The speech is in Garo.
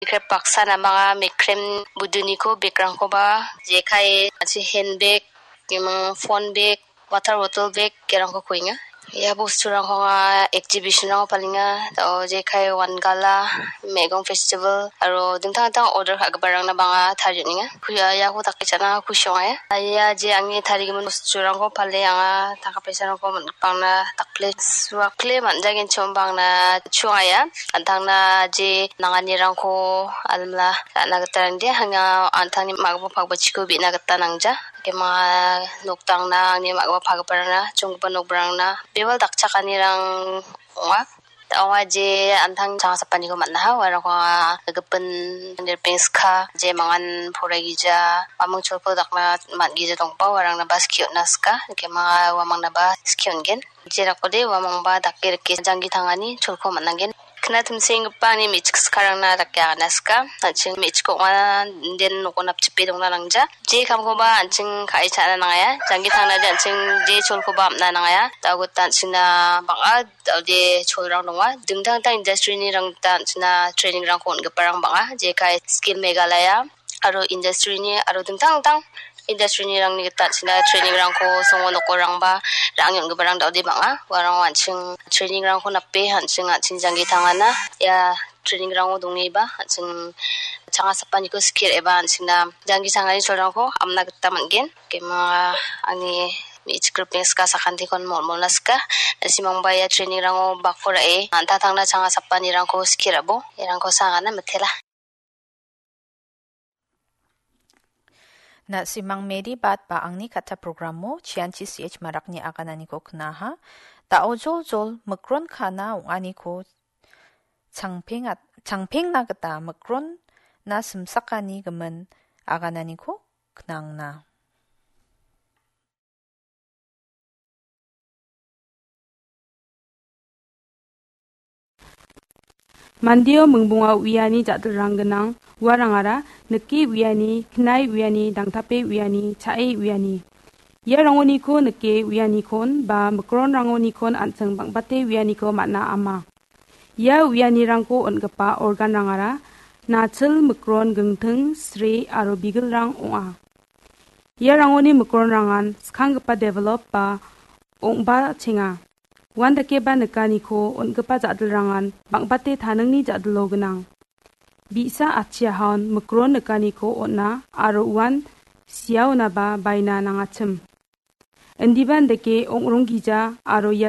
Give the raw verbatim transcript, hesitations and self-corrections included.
krep baksa namanga mekrem buduniko bag-rangkoba jekai, an·ching handbag, imang phone bag, water bottle bag, gerangko kuenga. Ia bosturangko anga exhibition-rango palenga. Dao jekai Wangala, Megong Festival, aro dingtang dingtang order ka·giparangna bang·a tarie on·enga. Ku-, ia, iako dake cha·na kusi ong·a ia. Ia je angni tarigimin bosturangko pale anga tangka paisarangko man-, bang·na dakple suakle man·jagenchim bang·na chu ong·a ia. An·tangna je nanganirangko almila ra·na gita rangde, anga an·tangni ma·gipa pakbachiko be·na gita nangja. Kema noktangna angni ma·gipa pagiparangna, chonggipa nokrangna, bebal dakchakanirang ong·a. Ong·a je an·tang changasapaniko man·aha, uarangko anga gipin nirpengska, je mangan poraigija, uamang cholko dakna man·gija dongba, uarangnaba skie on·na sika, kema uamangnaba skie on·gen. Jerakode uamangba dake rike janggi tangani cholko man·angen. Kna timsenggipa ani me·chik sikarangna dake agana sika. An·ching me·chik ong·a, inden noko napchipe dongna nangja. Je kamkoba an·ching ka·e cha·na nangaia. Janggi tangnade an·ching je cholkoba am·na nangaia. Da·o gita an·chingna bang·a da·ode cholrang donga. Dingtang dingtang industry-ni rang gita an·chingna training-rangko on·giparang bang·a. Jekai Skill Meghalaya aro industry-ni aro dingtang dingtang industry-ni rangni gita an·chingna training-rangko songo nokorangba ra·ange on·giparang da·ode bang·a. Uarang an·ching training-rangko nape an·ching, an·ching janggi tangana. Ia training-rango dongeba an·ching changasapaniko skie ra·eba an·chingna janggi tangani cholrangko amna gita man·gen. Kema angni me·chik ripeng sika sakantikon mol·molna sika. Na·simangba ia training-rango bako ra·e an·tangtangna changasapanirangko skie ra·bo. Iarangko sangana mitela. Na·simang Mary Bat ba angni katta programo chianchi C H Marakni agananiko knaha. Da·o joljol mikron kana ong·aniko changpengat-, changpengna gita mikronna simsakani gimin agananiko knangna. Mandio mingbonga uiani ja·dilrang gnang, uarangara nike uiani, knae uiani, dangtape uiani, cha·e uiani. Ia rangoniko nike uianikon ba mikronrangonikon an·ching bang·bate uianiko man·a ama. Ia uianirangko on·gipa organrangara nachil, mikron, gingting, sre aro bigilrang ong·a. Ia rangoni mikronrangan skanggipa develop ba ong·bachenga. Uandakeba nikaniko on·gipa ja·dilrangan bang·bate taningni ja·dilo gnang. Bi·sa atchiahaon mikron nikaniko on·a aro uan siaonaba baina nangachim. Indiba indake ong·ronggija aro ia